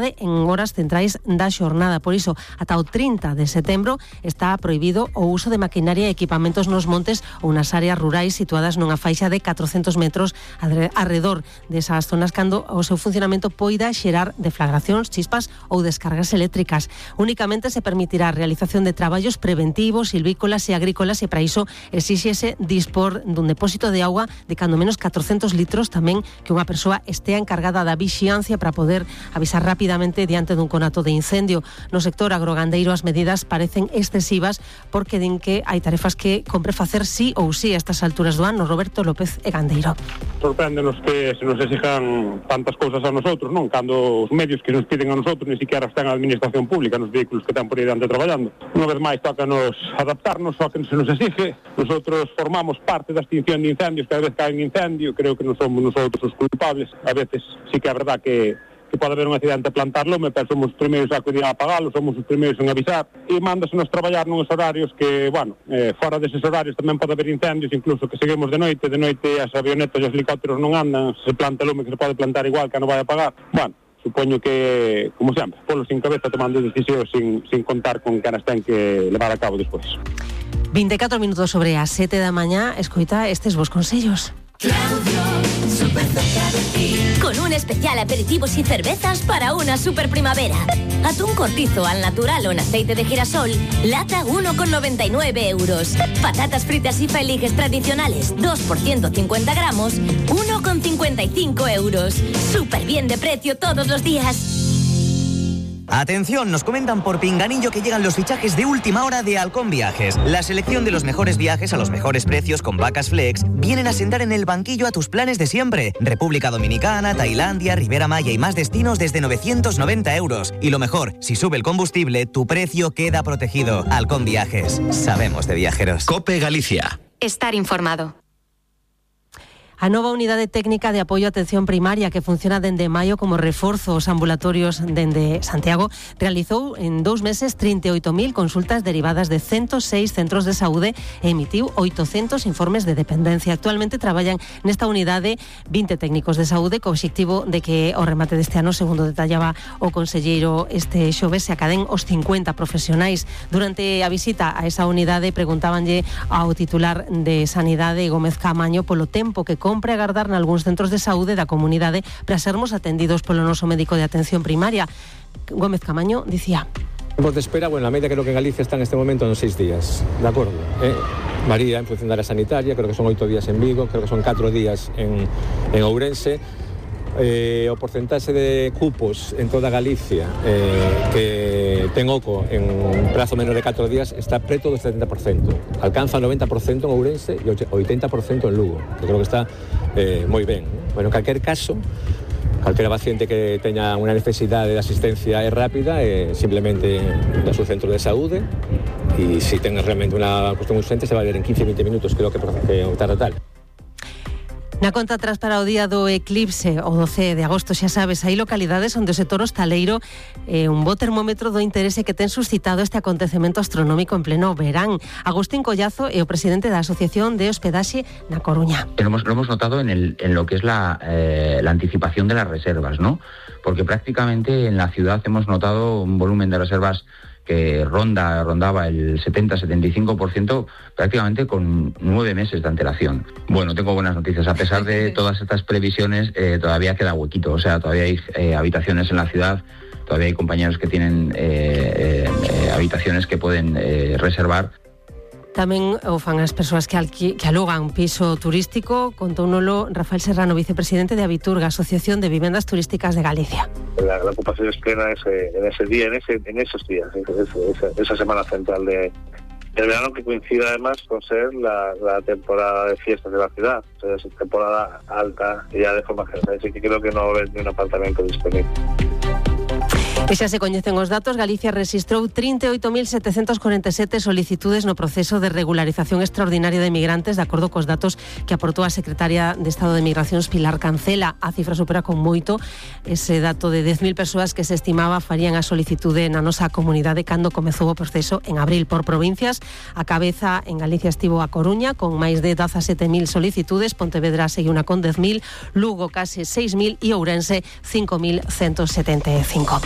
en horas centrais da xornada. Por iso, ata o 30 de setembro está prohibido o uso de maquinaria e equipamentos nos montes ou nas áreas rurais situadas nunha faixa de 400 metros alrededor desas zonas cando o seu funcionamento poida xerar deflagracións, chispas ou descargas eléctricas. Únicamente se permitirá a realización de traballos preventivos, silvícolas e agrícolas, e para iso exíxese dispor dun depósito de auga de cando menos 400 litros, tamén que unha persoa estea encargada da vixiancia para poder avisar rápidamente diante dun conato de incendio. No sector agrogandeiro as medidas parecen excesivas porque din que hai tarefas que compre facer sí ou sí a estas alturas do ano. Roberto López e Gandeiro. Sorpréndenos que se nos exijan tantas cousas a nosotros, non? Cando os medios que nos piden a nosotros ni siquiera están a administración pública nos vehículos que están por aí diante traballando. Unha vez máis toca-nos adaptarnos ao que se nos exige. Nosotros formamos parte da extinción de incendios, cada vez que hai un incendio, creo que non somos nosotros os culpables. A veces sí que é verdad que pode haber un accidente plantar lume, pero somos os primeiros a acudir a apagalo, somos os primeiros en avisar, e mándasenos traballar nuns horarios que, fora deses horarios tamén pode haber incendios, incluso que seguimos de noite as avionetas e os helicópteros non andan, se planta lume que se pode plantar igual que non vai a apagar. Supoño que, como sempre, polo sin cabeza tomando decisións sin contar con que as ten que levar a cabo despois. 24 minutos sobre as 7 da mañá, escoita estes vos consellos. Claudio, súper cerca de ti. Con un especial aperitivos y cervezas para una super primavera. Atún cortizo al natural o en aceite de girasol, lata 1,99 euros. Patatas fritas y feliges tradicionales, 2 por 150 gramos, 1,55 euros. Súper bien de precio todos los días. Atención, nos comentan por Pinganillo que llegan los fichajes de última hora de Halcón Viajes. La selección de los mejores viajes a los mejores precios con vacas flex vienen a sentar en el banquillo a tus planes de siempre. República Dominicana, Tailandia, Riviera Maya y más destinos desde 990 euros. Y lo mejor, si sube el combustible, tu precio queda protegido. Halcón Viajes. Sabemos de viajeros. COPE Galicia. Estar informado. A nova unidade técnica de apoio á atención primaria que funciona dende maio como reforzo aos ambulatorios dende Santiago realizou en 2 meses 38.000 consultas derivadas de 106 centros de saúde e emitiu 800 informes de dependencia. Actualmente traballan nesta unidade 20 técnicos de saúde co obxectivo de que ao remate deste ano, segundo detallaba o conselleiro este xoves, se acaden os 50 profesionais. Durante a visita a esa unidade preguntábanlle ao titular de Sanidade, Gómez Camaño, polo tempo que compre agardar nalgúns centros de saúde da comunidade para sermos atendidos polo noso médico de atención primaria. Gómez Camaño dicía: Tiempos de espera, a media creo que en Galicia está en este momento en 6 días, de acordo? Varía en función da área sanitaria, creo que son 8 días en Vigo, creo que son 4 días en Ourense. O porcentaxe de cupos en toda Galicia que ten oco en prazo menos de 4 días está preto do 70%. Alcanza 90% en Ourense e 80% en Lugo, que creo que está moi ben. En calquer caso, calquera paciente que teña unha necesidade de asistencia rápida simplemente da seu centro de saúde, e se ten realmente unha cuestión urgente se vai ver en 15-20 minutos, creo que tarda tal. Na conta atrás para o día do eclipse, o 12 de agosto, xa sabes, hai localidades onde o sector hostaleiro un bo termómetro do interese que ten suscitado este acontecemento astronómico en pleno verán. Agustín Collazo é o presidente da Asociación de Hospedaxe na Coruña. Lo hemos notado en lo que es la anticipación de las reservas, ¿no? Porque prácticamente en la ciudad hemos notado un volumen de reservas que rondaba el 70-75% prácticamente con 9 meses de antelación. Bueno, tengo buenas noticias. A pesar de todas estas previsiones, todavía queda huequito. O sea, todavía hay habitaciones en la ciudad, todavía hay compañeros que tienen habitaciones que pueden reservar. Tamén o fan as persoas que alugan piso turístico. Contóunolo Rafael Serrano, vicepresidente de Abiturga, Asociación de Vivendas Turísticas de Galicia. La ocupación es plena en ese día, en esos días, esa semana central del verano, que coincide además con ser la temporada de fiestas de la ciudad, o sea, es temporada alta ya de forma general, así que creo que no va a haber ni un apartamento disponible. E xa se coñecen os datos, Galicia rexistrou 38.747 solicitudes no proceso de regularización extraordinaria de migrantes, de acordo cos datos que aportou a secretaria de Estado de Migracións, Pilar Cancela. A cifra supera con moito ese dato de 10.000 persoas que se estimaba farían a solicitude na nosa comunidade cando comezou o proceso en abril. Por provincias, a cabeza en Galicia estivo a Coruña, con máis de 17.000 solicitudes, Pontevedra seguiu una con 10.000, Lugo case 6.000 e Ourense 5.175.